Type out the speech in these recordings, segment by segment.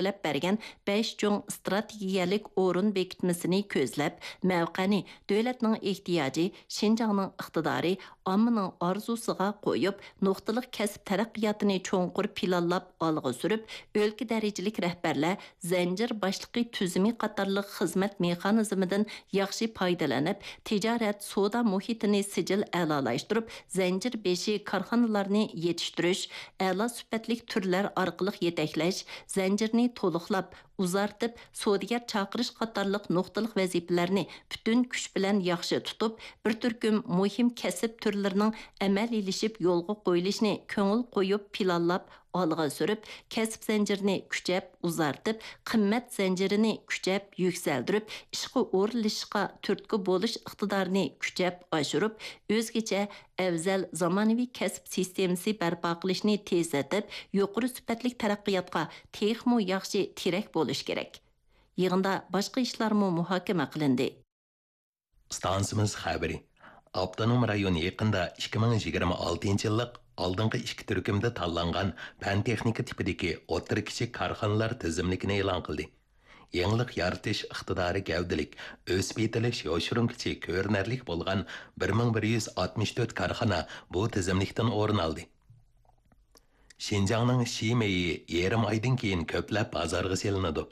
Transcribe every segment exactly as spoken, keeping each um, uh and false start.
تەكىتلەپ بەرگەن بەش چوڭ ئىستراتېگىيەلىك ئورۇن بېكىتمىسىنى كۆزلەپ، مەۋقەنى دۆلەتنىڭ ئېھتىياجى، شىنجاڭنىڭ ئىقتىدارى، ئاممىنىڭ ئارزۇسىغا قويۇپ، نۇقتىلىق كەسىپ تەرەققىياتىنى چوڭقۇر پىلانلاپ ئالغا سۈرۈپ، ئۆلكە دەرىجىلىك رەھبەرلەر زەنجىر باشلىقى تۈزۈمى قاتارلىق خىزمەت مېخانىزمىدىن ياخشى پايدىلىنىپ، تىجارەت، سودا مۇھىتىنى سىجىل ئەلالاشتۇرۇپ، زەنجىر بېشى كارخانىلارنى يېتىشتۈرۈش، ئەلا سۈپەتلىك تۈرلەر ئارقىلىق يېتەكلەش، زەنجىرنى تولۇقلاپ، ئۇزارتىپ، سودىگەر چاقىرىش قاتارلىق نۇقتىلىق ۋەزىپىلەرنى پۈتۈن كۈچ بىلەن ياخشى تۇتۇپ، بىر تۈركۈم مۇھىم كەسىپ تۈرلىرىنىڭ ئەمەلىيلىشىپ يولغا قويۇلۇشىنى كۆڭۈل قويۇپ پىلانلاپ ئالغا سۈرۈپ، كەسىپ زەنجىرىنى كۈچەپ ئۇزارتىپ، قىممەت زەنجىرىنى كۈچەپ يۈكسەلدۈرۈپ، ئىشقا ئورۇنلىشىشقا تۈرتكە بولۇش ئىقتىدارىنى كۈچەپ ئاشۇرۇپ، ئۆزگىچە ئەۋزەل زامانىۋى كەسىپ سىستېمىسى بەرپا قىلىشنى تېزلىتىپ، يۇقىرى سۈپەتلىك تەرەققىياتقا تېخىمۇ ياخشى تىرەك بولۇش كېرەك. يىغىندا باشقا ئىشلارمۇ مۇھاكىمە قىلىندى. ئىستانسىمىز خەۋىرى. ئاپتونوم رايون يېقىندا ئىككى مىڭ يىگىرمە ئالتىنچى يىللىق ئالدىنقى ئىككى تۈركۈمدە تاللانغان پەن-تېخنىكا تىپىدىكى ئوتتۇرا، كىچىك كارخانىلار تىزىملىكىنى ئېلان قىلدى. يېڭىلىق يارىتىش ئىقتىدارى گەۋدىلىك، ئۆسۈپ يېتىلىش يوشۇرۇن كۈچى كۆرۈنەرلىك بولغان بىر مىڭ بىر يۈز ئاتمىش تۆت كارخانا بۇ تىزىملىكتىن ئورۇن ئالدى. شىنجاڭنىڭ شى مېيى يېرىم ئايدىن كېيىن كۆپلەپ بازارغا سېلىنىدۇ.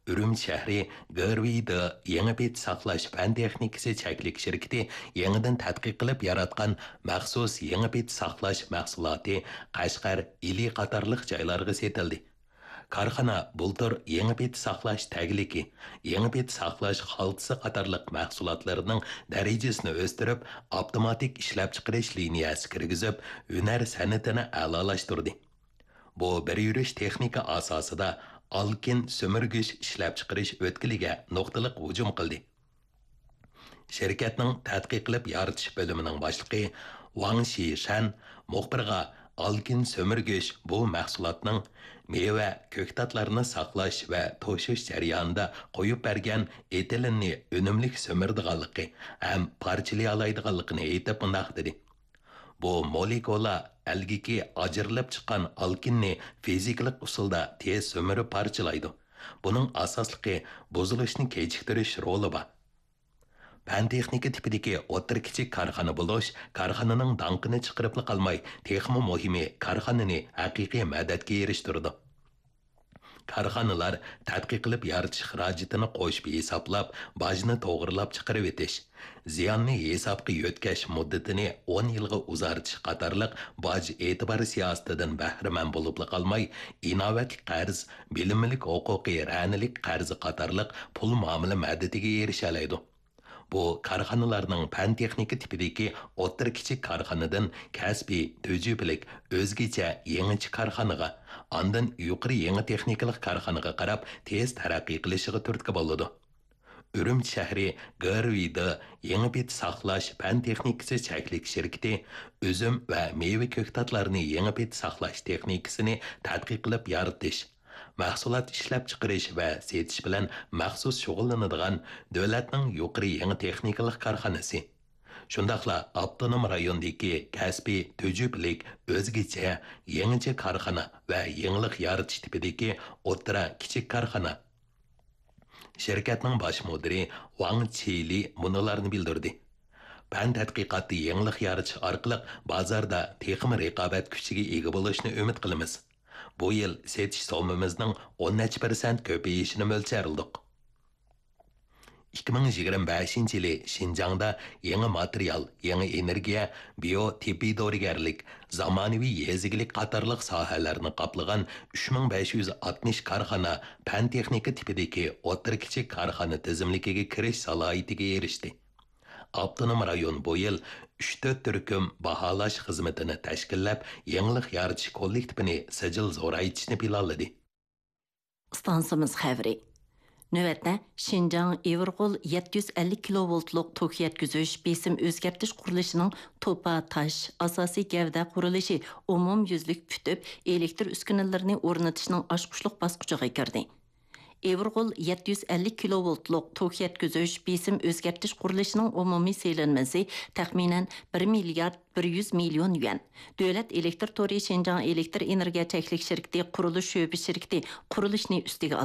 ئۈرۈمچى شەھىرى گېرۋىيدا يېڭى پېتى ساقلاش پەن تېخنىكىسى چەكلىك شىركىتى يېڭىدىن تەتقىق قىلىپ ياراتقان مەخسۇس يېڭى پېتى ساقلاش مەھسۇلاتى قەشقەر، ئىلى قاتارلىق جايلارغا سېتىلدى. كارخانا بۇلتۇر يېڭى پېتى ساقلاش تەگلىكى، يېڭى پېتى ساقلاش خالتىسى قاتارلىق مەھسۇلاتلىرىنىڭ دەرىجىسىنى ئۆستۈرۈپ، ئاپتوماتىك ئىشلەپچىقىرىش لىنىيەسى كىرگۈزۈپ، ھۈنەر سەنئىتىنى ئەلالاشتۇردى. بۇ بىر يۈرۈش تېخنىكا ئاساسىدا ئالكىن سۈمۈرگۈچ ئىشلەپچىقىرىش ئۆتكىلىگە نۇقتىلىق ھۇجۇم قىلدى. شىركەتنىڭ تەتقىق قىلىپ يارىتىش بۆلۈمىنىڭ باشلىقى ۋاڭ شىشەن مۇخبىرغا ئالكىن سۈمۈرگۈچ بۇ مەھسۇلاتنىڭ مېۋە، كۆكتاتلارنى ساقلاش ۋە توشۇش جەريانىدا قويۇپ بەرگەن ئېتىلېننى ئۈنۈملۈك سۈمۈرىدىغانلىقى ھەم پارچىلىيالايدىغانلىقىنى ئېيتىپ مۇنداق دېدى: بۇ مولېكۇلا ئەلگىكى ئاجرىلىپ چىققان ئالكىننى فىزىكىلىق ئۇسۇلدا تېز سۈمۈرۈپ پارچىلايدۇ. بۇنىڭ ئاساسلىقى بۇزۇلۇشنى كېچىكتۈرۈش رولى بار. پەن-تېخنىكا تىپىدىكى ئوتتۇرا، كىچىك كارخانا بولۇش كارخانىنىڭ داڭقىنى چىقىرىپلا قالماي، تېخىمۇ مۇھىمى، كارخانىنى ھەقىقىي مەدەتكە ئېرىشتۈرىدۇ. كارخانىلار تەتقىق قىلىپ يارىتىش خىراجىتىنى قوشۇپ ھېسابلاپ، باجنى توغرىلاپ چىقىرىۋېتىش، زىياننى ھېسابقا يۆتكەش مۇددىتىنى ئون يىلغا ئۇزارتىش قاتارلىق باج ئېتىبار سىياسىتىدىن بەھرىمەن بولۇپلا قالماي، ئىناۋەتلىك قەرز، بىلىملىك ھوقۇقى رەنىلىك قەرزى قاتارلىق پۇل مۇئامىلە مەدىتىگە ئېرىشەلەيدۇ. بۇ كارخانىلارنىڭ پەن-تېخنىكا تىپىدىكى ئوتتۇرا، كىچىك كارخانىدىن كەسپىي، تۈجۈپىلىك، ئۆزگىچە، يېڭىچە كارخانىغا، ئاندىن يۇقىرى يېڭى تېخنىكىلىق كارخانىغا قاراپ تېز تەرەققىي قىلىشىغا تۈرتكە بولىدۇ. ئۈرۈمچى شەھىرى گېرۋىيدا يېڭى پېتى ساقلاش پەن تېخنىكىسى چەكلىك شىركىتى ئۈزۈم ۋە مېۋە كۆكتاتلارنى يېڭى پېتى ساقلاش تېخنىكىسىنى تەتقىق قىلىپ يارىتىش، مەھسۇلات ئىشلەپچىقىرىش ۋە سېتىش بىلەن مەخسۇس شۇغۇللىنىدىغان دۆلەتنىڭ يۇقىرى يېڭى تېخنىكىلىق كارخانىسى، شۇنداقلا ئاپتونوم رايوندىكى كەسپىي، تۈجۈپىلىك، ئۆزگىچە، يېڭىچە كارخانا ۋە يېڭىلىق يارىتىش تىپىدىكى ئوتتۇرا، كىچىك كارخانا. شىركەتنىڭ باش مۇدىرى ۋاڭ چىلى مۇنۇلارنى بىلدۈردى: پەن تەتقىقاتتا يېڭىلىق يارىتىش ئارقىلىق بازاردا تېخىمۇ رىقابەت كۈچىگە ئىگە بولۇشنى ئۈمىد قىلىمىز. بۇ يىل سېتىش سوممىمىزنىڭ ئون نەچچە پىرسەنت كۆپىيىشىنى مۆلچەرلىدۇق. ئىككى مىڭ يىگىرمە بەشىنچى يىلى شىنجاڭدا يېڭى ماتېرىيال، يېڭى ئېنېرگىيە، بىيو تېببىي دورىگەرلىك، زامانىۋى يېزا ئىگىلىك قاتارلىق ساھەلەرنى قاپلىغان ئۈچ مىڭ بەش يۈز ئاتمىش كارخانا پەن-تېخنىكا تىپىدىكى ئوتتۇرا، كىچىك كارخانا تىزىملىكىگە كىرىش سالاھىيىتىگە ئېرىشتى. ئاپتونوم رايون بۇ يىل ئۈچ تۆت تۈركۈم باھالاش خىزمىتىنى تەشكىللەپ، يېڭىلىق يارىتىش كوللېكتىپىنى سىجىل زورايتىشنى پىلانلىدى. ئىستانسىمىز خەۋىرى. نۆۋەتتە شىنجاڭ ئېۋىرغول يەتتە يۈز ئەللىك كىلوۋولتلۇق توك يەتكۈزۈش بېسىم ئۆزگەرتىش قۇرۇلۇشىنىڭ توپا تاش، ئاساسىي گەۋدە قۇرۇلۇشى ئومۇميۈزلۈك پۈتۈپ، ئېلېكتر ئۈسكۈنىلىرىنى ئورنىتىشنىڭ ئاچقۇچلۇق باسقۇچىغا كىردى. ئېۋىرغول يەتتە يۈز ئەللىك كىلوۋولتلۇق توك يەتكۈزۈش بېسىم ئۆزگەرتىش قۇرۇلۇشىنىڭ ئومۇمىي سېلىنمىسى تەخمىنەن بىر مىليارد بىر يۈز مىليون يۈەن. دۆلەت ئېلېكتر تورى شىنجاڭ ئېلېكتر ئېنېرگىيە چەكلىك شىركىتى قۇرۇلۇش شۆبە شىركىتى قۇرۇلۇشنى ئۈستىگە ئالدى.